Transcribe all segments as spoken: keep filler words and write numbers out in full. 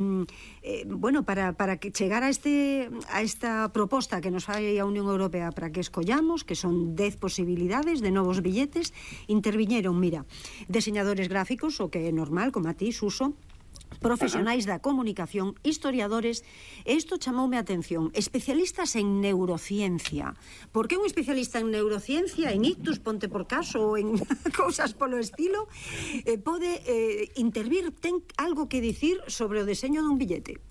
Eh, bueno, para, para que chegar a, este, a esta proposta que nos fai a Unión Europea para que escollamos, que son dez posibilidades de novos billetes, interviñeron, mira, deseñadores gráficos, o que é normal, como a ti, Suso, profesionais da comunicación, historiadores, e isto chamoume a atención, especialistas en neurociencia. Por que un especialista en neurociencia, en ictus, ponte por caso, ou en cousas polo estilo, eh, pode eh, intervir, ten algo que dicir sobre o deseño dun billete?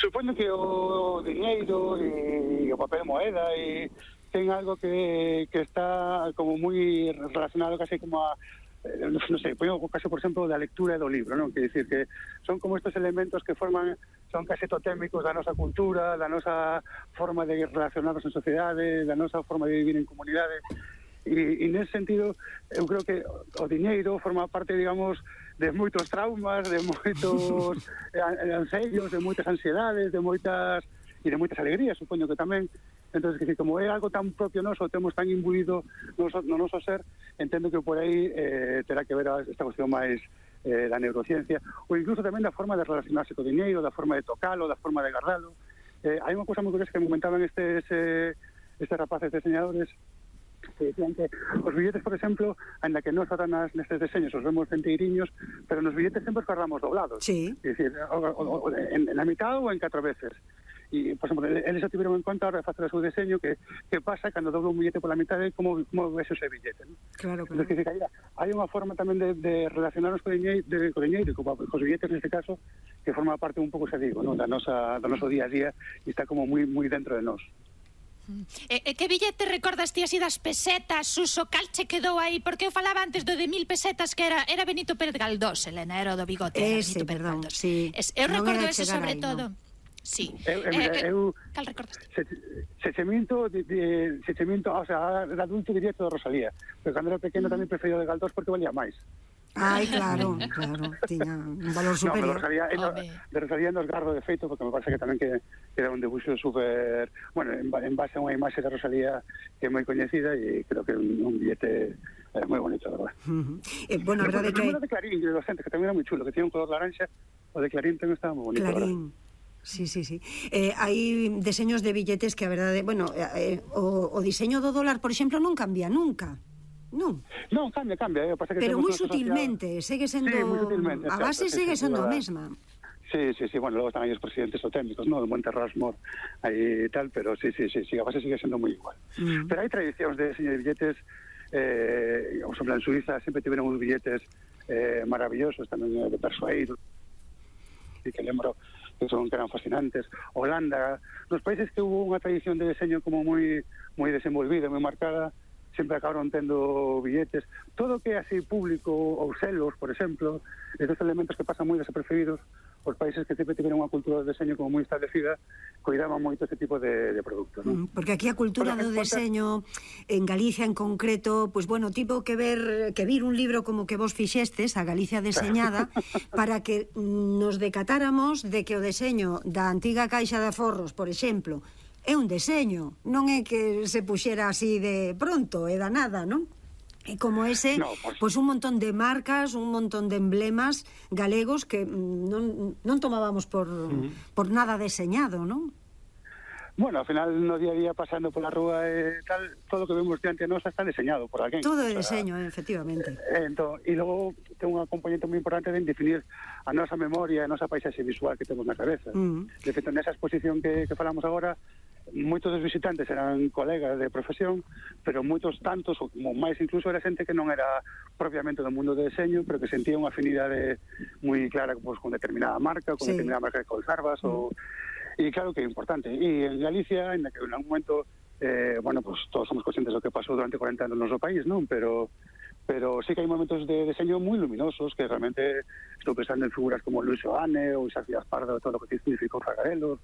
Supoño que o diñeiro e o papel moeda e ten algo que, que está como moi relacionado casi como a non sei, poño o caso, por exemplo, da lectura e do libro, non? Quer dicir que son como estes elementos que forman, son case totémicos da nosa cultura, da nosa forma de relacionarnos en sociedade, da nosa forma de vivir en comunidade, e, e nese sentido, eu creo que o diñeiro forma parte, digamos, de moitos traumas, de moitos ansellos, de moitas ansiedades, de moitas e de moitas alegrías, supoño que tamén. Entón, que como é algo tan propio noso, temos tan imbuído no, no noso ser, entendo que por aí eh, terá que ver esta cuestión máis eh, da neurociencia, ou incluso tamén da forma de relacionarse co diñeiro, da forma de tocalo, da forma de agarralo. Eh, hai unha cousa moi curiosa que me comentaban estes, eh, estes rapaces diseñadores, que decían que os billetes, por exemplo, ainda que non están nestes deseños, os vemos enteiriños, pero nos billetes sempre os cargamos doblados. Sí. É dicir, o, o, o, en, en la mitad ou en catro veces. E, por exemplo, eles xa tiveron en conta a hora de facer o seu deseño que, que pasa cando dobla un billete pola mitad e como, como ves ese billete, ¿no? Claro, claro. Entonces, que, que, hai unha forma tamén de, de relacionarnos co diñeiro, de, co diñeiro, co, cos billetes neste caso, que forma parte un pouco, xa digo, ¿no? da nosa, do noso día a día e está como moi moi dentro de nós. E, e que billete recordas ti así das pesetas, Suso? Cal che quedou aí? Porque eu falaba antes do de mil pesetas que era era Benito Pérez Galdós, Elena, era o do bigote. Ese, perdón, sí. Es, eu non recordo ese sobre aí, todo. No. Sí. Eu, eu, eh, eu cal recordas ti? Se, se chemento, de, de, se chemento, o sea, de adulto diría todo Rosalía, pero cando era pequeno tamén prefería de Galdós porque valía máis. Ai, claro, claro, tiña un valor superior. No, de Rosalía, no, de Rosalía nos garro de feito, porque me parece que tamén que, que era un debuxo super, bueno, en, en base a unha imaxe de Rosalía que é moi coñecida e creo que é un, un billete eh, moi bonito, verdad. Uh-huh. eh, bueno, a verdade que... O de Clarín, de docente, que tamén era moi chulo, que tiene un color laranxa, o de Clarín tamén estaba moi bonito, Clarín. ¿verdad? Sí, sí, sí. Eh, hai deseños de billetes que a verdade, bueno, eh, o, o diseño do dólar, por exemplo, non cambia nunca. Non. Non, cambia, cambia, eh. Pasa que pero moi sutilmente, social... segue sendo sí, muy sutilmente, a base exacto, segue sí, sendo a verdad. mesma. Sí, sí, sí, bueno, logo están aí os presidentes totémicos, ¿no? De Monte Rushmore aí tal, pero sí, sí, sí, sí, a base sigue sendo moi igual. Mm. Pero hai tradicións de diseño de billetes, eh, por exemplo, en Suiza sempre tiveron uns billetes eh, maravillosos, tamén de Persuader, e que lembro que son que eran fascinantes. Holanda, nos países que hubo unha tradición de diseño como moi moi desenvolvida, moi marcada, sempre acabaron tendo billetes. Todo que é así público, ou selos, por exemplo, estes elementos que pasan moi desapercibidos, os países que sempre tiveron unha cultura de deseño como moi establecida, cuidaban moito este tipo de, de produtos, ¿no? Porque aquí a cultura do deseño en Galicia en concreto, pois pues, bueno, tipo que ver que vir un libro como que vos fixestes, a Galicia deseñada, para que nos decatáramos de que o deseño da antiga Caixa de Aforros, por exemplo, é un deseño, non é que se puxera así de pronto, é da nada, non? E como ese, no, pues... pois un montón de marcas, un montón de emblemas galegos que non, non tomábamos por, uh-huh. por nada deseñado, non? Bueno, ao final no día a día pasando pola rúa e tal, todo o que vemos diante de nós está diseñado por alguén. Todo é diseño, o sea, efectivamente. Eh, entón, e logo ten unha componente moi importante de definir a nosa memoria, a nosa paisaxe visual que temos na cabeza. Uh-huh. De feito, nesa exposición que, que falamos agora, moitos dos visitantes eran colegas de profesión, pero moitos tantos, ou como máis incluso, era xente que non era propiamente do mundo de deseño, pero que sentía unha afinidade moi clara pues, con determinada marca, con sí. determinada marca de colzarbas, uh-huh. ou... E claro que é importante. E en Galicia, en que en algún momento, eh, bueno, pues todos somos conscientes do que pasou durante corenta anos no noso país, non? Pero pero sí que hai momentos de deseño moi luminosos, que realmente estou pensando en figuras como Luis Oane ou Isaac Díaz Pardo, todo o que significou Fragarelos,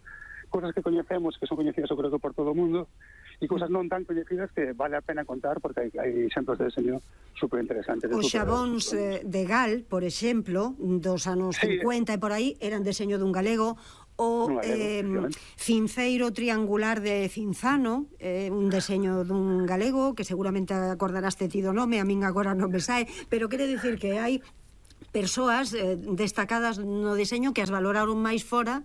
cosas que coñecemos, que son coñecidas, eu creo que por todo o mundo, e cosas non tan coñecidas que vale a pena contar, porque hai, hai exemplos de diseño super interesantes. Os xabóns eh, de Gal, por exemplo, dos anos sí, cincuenta e por aí, eran deseño dun galego. O eh, cinceiro triangular de Cinzano, eh, un deseño dun galego, que seguramente acordarás te ti do nome, a min agora non me sae, pero quere dicir que hai persoas eh, destacadas no deseño que as valoraron máis fora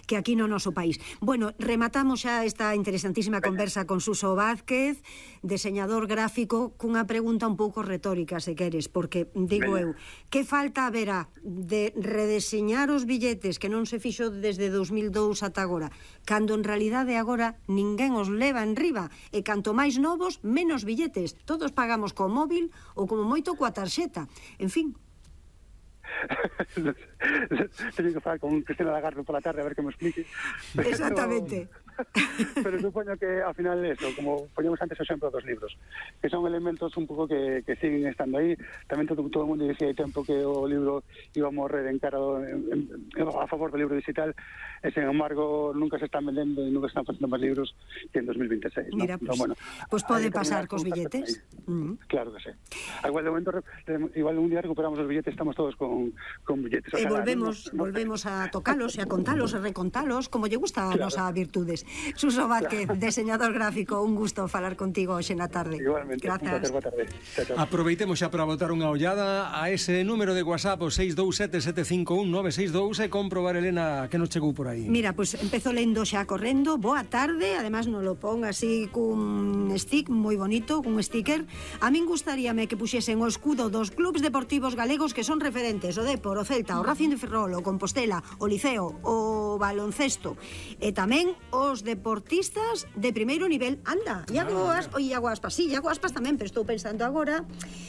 que aquí no noso país. Bueno, rematamos xa esta interesantísima conversa con Suso Vázquez, deseñador gráfico, cunha pregunta un pouco retórica, se queres, porque, digo eu, que falta haberá de redeseñar os billetes que non se fixo desde dos mil dous ata agora, cando en realidade agora ninguén os leva en riba, e canto máis novos, menos billetes. Todos pagamos co móvil ou como moito coa tarxeta. En fin, teño que falar con Cristina Lagarde pola tarde a ver que me explique. exactamente. Pero supoño que ao final eso, como poñemos antes o exemplo dos libros, que son elementos un pouco que, que siguen estando aí. Tamén todo, todo o mundo dicía hai tempo que o libro iba a morrer en cara en, en, a favor do libro digital, e sen embargo nunca se están vendendo e nunca se están facendo máis libros que en dos mil veintiséis. Mira, ¿no? pues, Pero, bueno, pues pode pasar cos billetes. Uh-huh. Claro que sí. Igual de momento, igual un día recuperamos os billetes, estamos todos con, con billetes. E volvemos, no, no, volvemos a tocalos e a contalos e recontalos como lle gusta a claro. Nosa virtudes. Suso Vázquez, claro. Deseñador gráfico, un gusto falar contigo hoxe na tarde. Igualmente, gracias. Un placer, boa tarde. Chao, chao. Aproveitemos xa para botar unha ollada a ese número de WhatsApp, o seis dous sete sete cinco un nove seis dous, e comprobar, Elena, que nos chegou por aí. Mira, pues empezo lendo xa correndo. Boa tarde, además non lo pon así cun stick moi bonito, cun sticker. A min gustaríame que puxesen o escudo dos clubs deportivos galegos que son referentes, o Depor, o Celta, o Racing de Ferrol, o Compostela, o Liceo, o baloncesto, e tamén os deportistas de primeiro nivel. Anda, Iago ah, Aspas, oi, Iago Aspas, sí, Iago Aspas tamén, pero estou pensando agora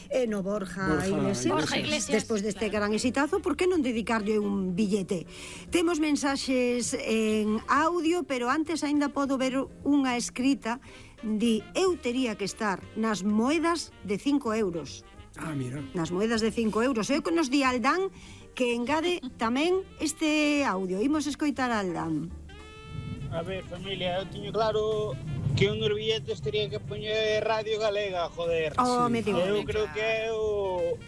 eh, no Borja, Borja Iglesias. Borja Iglesias. Despois deste claro. gran exitazo, por que non dedicarlle un billete? Temos mensaxes en audio, pero antes aínda podo ver unha escrita. Di, eu tería que estar nas moedas de cinco euros. Ah, mira. Nas moedas de cinco euros. Eu que nos di Aldán que engade tamén este audio. Imos escoitar a Aldán. A ver, familia, eu tiño claro que un dos billetes tería que poñer Radio Galega, joder. Oh, sí. Me digo. Eu creo que é o,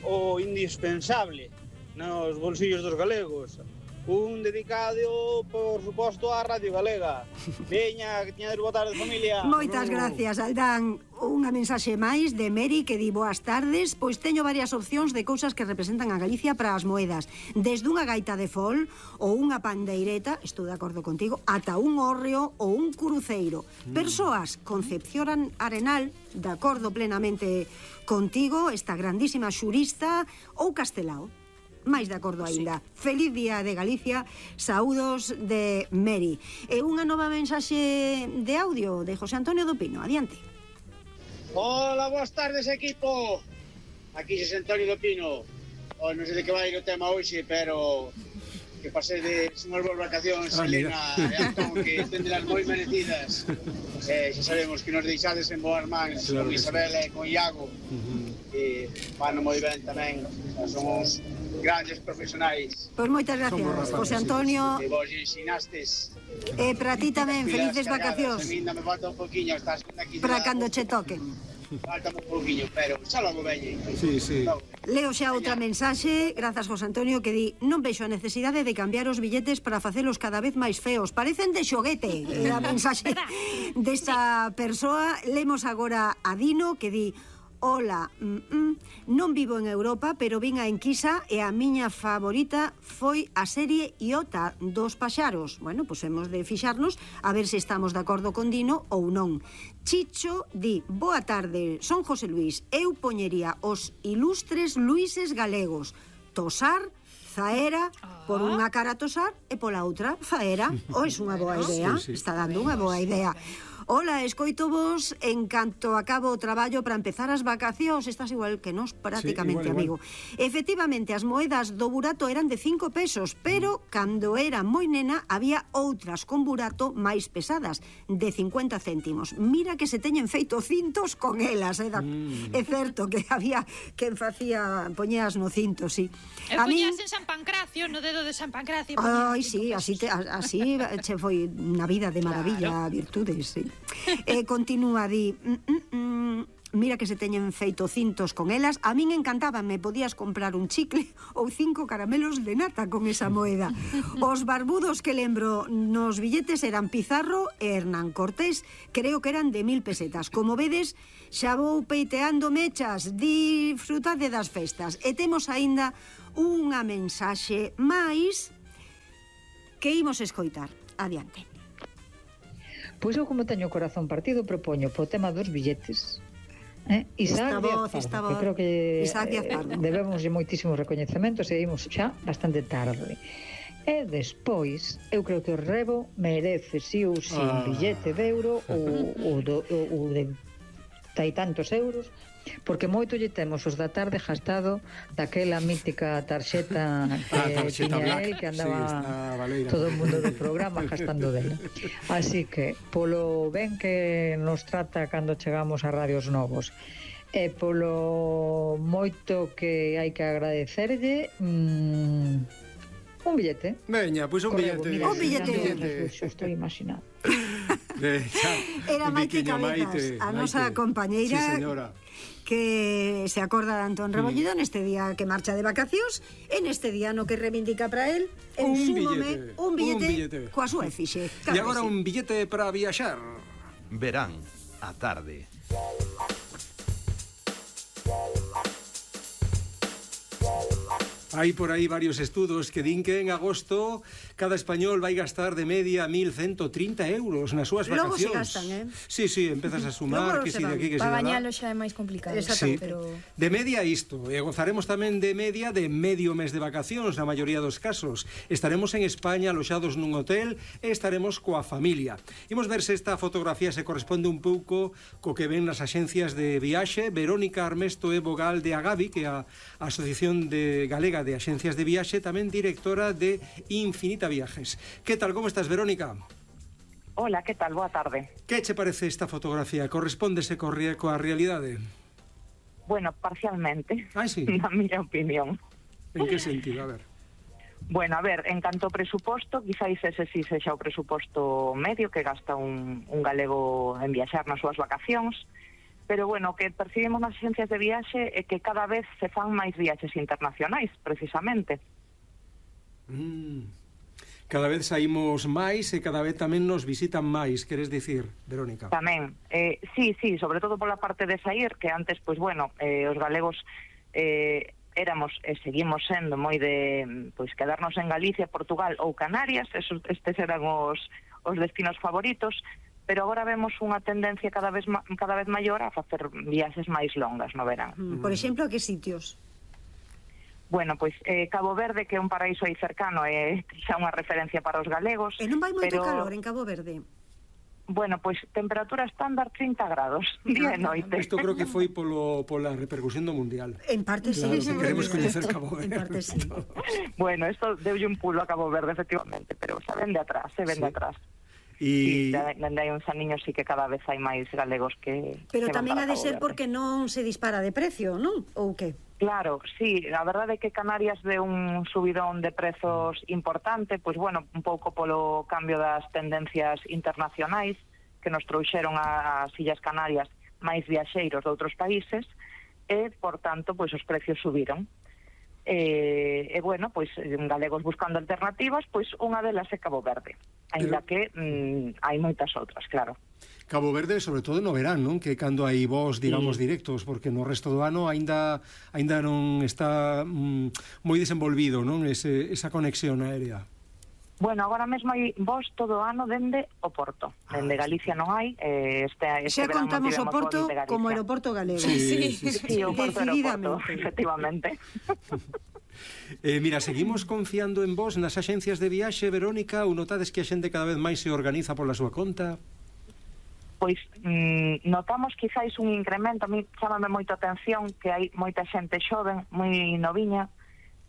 o indispensable nos bolsillos dos galegos. Un dedicado, por suposto, á Radio Galega. Veña, que tiñades boa tarde, familia. Moitas gracias, Aldán. Unha mensaxe máis de Meri que di boas tardes. Pois teño varias opcións de cousas que representan a Galicia para as moedas. Desde unha gaita de fol ou unha pandeireta, estou de acordo contigo, ata un hórreo ou un cruceiro. Mm. Persoas, Concepción Arenal, de acordo plenamente contigo, esta grandísima xurista, ou Castelao. Máis de acordo aínda. Sí. Feliz día de Galicia, saúdos de Meri. E unha nova mensaxe de audio de José Antonio do Pino. Adiante. Hola, boas tardes, equipo. Aquí José Antonio do Pino. Oh, non sei de que vai o tema hoxe, pero que pasei de unhas boas vacacións, ah, Elena e Antón, que tendelas moi merecidas. Eh, xa sabemos que nos deixades en boas mans, claro, con Isabela e con Iago. Uh-huh. E van moi ben tamén. Somos grandes profesionais. Pois moitas gracias, José Antonio. E vos ensinastes. E para ti tamén, felices vacacións. A mí me falta un poquinho, estás aquí. Para cando che toquen. Falta un poquinho, pero xa logo veñen. Sí, sí. Leo xa outra mensaxe, grazas José Antonio, que di: non vexo a necesidade de cambiar os billetes para facelos cada vez máis feos, parecen de xoguete. É a mensaxe desta persoa. Lemos agora a Dino, que di: Ola, mm, mm, non vivo en Europa, pero vin a enquisa e a miña favorita foi a serie Iota dos paxaros. Bueno, pois hemos de fixarnos a ver se estamos de acordo con Dino ou non. Chicho di: boa tarde, son José Luís. Eu poñería os ilustres Luises galegos. Tosar, Zaera, por unha cara tosar e pola outra Zaera. O, é unha boa idea, está dando unha boa idea. Ola, escoito vos en canto acabo o traballo para empezar as vacacións. Estás igual que nos, prácticamente, sí, igual, amigo. Igual. Efectivamente, as moedas do burato eran de cinco pesos, pero cando era moi nena había outras con burato máis pesadas, de cincuenta céntimos. Mira que se teñen feito cintos con elas, eh? Mm. É certo que había quen facía, poñeas no cinto, sí. E poñeas min... en San Pancracio, no dedo de San Pancracio. Ai, sí, así, te, así che foi na vida de maravilla, claro. Virtudes, sí. Eh, continúa, di: mm, mm, mm, mira que se teñen feito cintos con elas. A min encantaba, me podías comprar un chicle ou cinco caramelos de nata con esa moeda. Os barbudos que lembro nos billetes eran Pizarro e Hernán Cortés, creo que eran de mil pesetas. Como vedes, xa vou peiteando mechas, disfrutade das festas. E temos aínda unha mensaxe máis que imos escoitar. Adiante. Pois eu, como teño o corazón partido, propoño po tema dos billetes. Eh? Isaac Díaz Pardo, que creo que eh, debemos moitísimos recoñecementos e imos xa bastante tarde. E despois, eu creo que o rebo merece si ou si un billete de euro ou, ou, do, ou de tai tantos euros, porque moito lle temos os da tarde gastado daquela mítica tarxeta que ah, tarxeta tiña el, que andaba sí, todo o mundo do programa gastando dela. Así que, polo ben que nos trata cando chegamos a Radios Novos, e polo moito que hai que agradecerlle, mmm, un billete. Veña, pois pues un billete. Mira, un billete. Xo estou imaginando. Era Maite Cabezas, a nosa compañeira, sí, señora, que se acorda de Antón Rebollido mm. neste día que marcha de vacacións, en este día no que reivindica para él, en un billete, un billete, un billete coa súa efixe. E agora un billete para viaxar. Verán a tarde. Hai por aí varios estudos que din que en agosto cada español vai gastar de media mil ciento trinta euros nas súas vacacións. Logo se gastan, eh? Sí, sí, empezas a sumar, que si de aquí, que si de lá. Para bañalo xa é máis complicado. Sí. Pero... De media isto, e gozaremos tamén de media de medio mes de vacacións na maioría dos casos. Estaremos en España aloxados nun hotel e estaremos coa familia. Imos ver se esta fotografía se corresponde un pouco co que ven nas axencias de viaxe. Verónica Armesto é vogal de Agavi, que é a Asociación de Galega de Axencias de Viaxe, tamén directora de Infinita Viajes. Que tal, como estás, Verónica? Hola, que tal? Boa tarde. Que che parece esta fotografía? Correspóndese coa realidade? Bueno, parcialmente. Ah, sí? Na miña opinión. En que sentido? A ver. Bueno, a ver, en canto ao presuposto, quizáis ese sí sexa o presuposto medio que gasta un, un galego en viaxar nas súas vacacións, pero bueno, o que percibimos nas axencias de viaxe é que cada vez se fan máis viaxes internacionais, precisamente. Mm. Cada vez saímos máis e cada vez tamén nos visitan máis, queres dicir, Verónica? Tamén, eh, sí, sí, sobre todo pola parte de sair, que antes, pois bueno, eh, os galegos eh, éramos e seguimos sendo moi de pois quedarnos en Galicia, Portugal ou Canarias, esos, estes eran os, os destinos favoritos, pero agora vemos unha tendencia cada vez cada vez maior a facer viaxes máis longas no verán. Mm, por exemplo, a que sitios? Bueno, pois eh, Cabo Verde, que é un paraíso aí cercano, é xa unha referencia para os galegos. E non vai moito pero... calor en Cabo Verde? Bueno, pois temperatura estándar trinta grados, día e noite. Isto creo que foi polo, pola repercusión do Mundial. En parte sí. Claro, que queremos coñecer Cabo Verde. En parte sí. Bueno, isto deulle un pulo a Cabo Verde, efectivamente, pero xa ven de atrás, se ven sí. de atrás. E... Sí, dende hai uns aniños sí que cada vez hai máis galegos que... Pero que tamén ha de ser Verde. Porque non se dispara de precio, non? Ou que? Claro, sí, a verdade é que Canarias de un subidón de prezos importante, pois bueno, un pouco polo cambio das tendencias internacionais que nos trouxeron ás Illas Canarias máis viaxeiros de outros países e, por tanto, pois os precios subiron. E, e bueno, pois galegos buscando alternativas, pois unha delas é Cabo Verde, ainda que mm, hai moitas outras, claro. Cabo Verde, sobre todo no verán, non? Que cando hai voos, digamos, sí. directos, porque no resto do ano aínda aínda non está mm, moi desenvolvido, non? Ese, esa conexión aérea. Bueno, agora mesmo hai voos todo o ano dende o Porto. Dende Galicia non hai. Eh, este, este Xa contamos o Porto como aeroporto galego. Sí, sí, sí, sí. sí o Porto aeroporto, efectivamente. Eh, mira, seguimos confiando en vos nas axencias de viaxe, Verónica, ou notades que a xente cada vez máis se organiza pola súa conta? Pois mm, notamos quizáis un incremento. A mí chámame moita atención que hai moita xente xoven, moi noviña,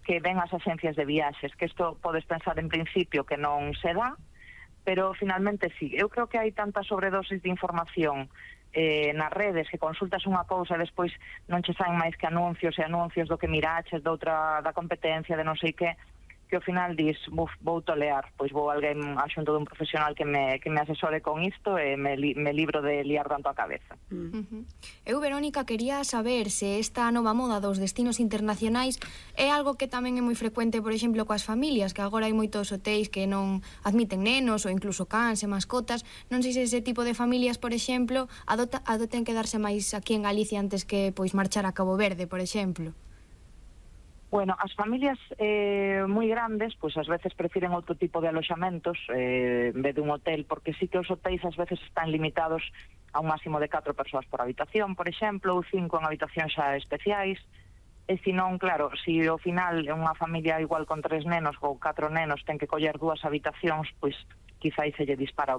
que ven as axencias de viaxes, que isto podes pensar en principio que non se dá, pero finalmente sí. Eu creo que hai tanta sobredosis de información eh, nas redes que consultas unha cousa e despois non che saen máis que anuncios e anuncios do que miraches, de outra, da competencia, de non sei que, que ao final dis, buf, vou tolear, pois vou alguén a xunto dun profesional que me, que me asesore con isto e me, li, me libro de liar tanto a cabeza. Uh-huh. Eu, Verónica, quería saber se esta nova moda dos destinos internacionais é algo que tamén é moi frecuente, por exemplo, coas familias, que agora hai moitos hotéis que non admiten nenos ou incluso cans e mascotas. Non sei se ese tipo de familias, por exemplo, adota, adoten quedarse máis aquí en Galicia antes que pois marchar a Cabo Verde, por exemplo. Bueno, as familias eh, moi grandes, pois ás veces prefiren outro tipo de aloxamentos eh, en vez de un hotel, porque sí que os hotéis ás veces están limitados a un máximo de catro persoas por habitación, por exemplo, ou cinco en habitacións xa especiais, e se non, claro, se ao final unha familia igual con tres nenos ou catro nenos ten que coller dúas habitacións, pois quizáis se lle dispara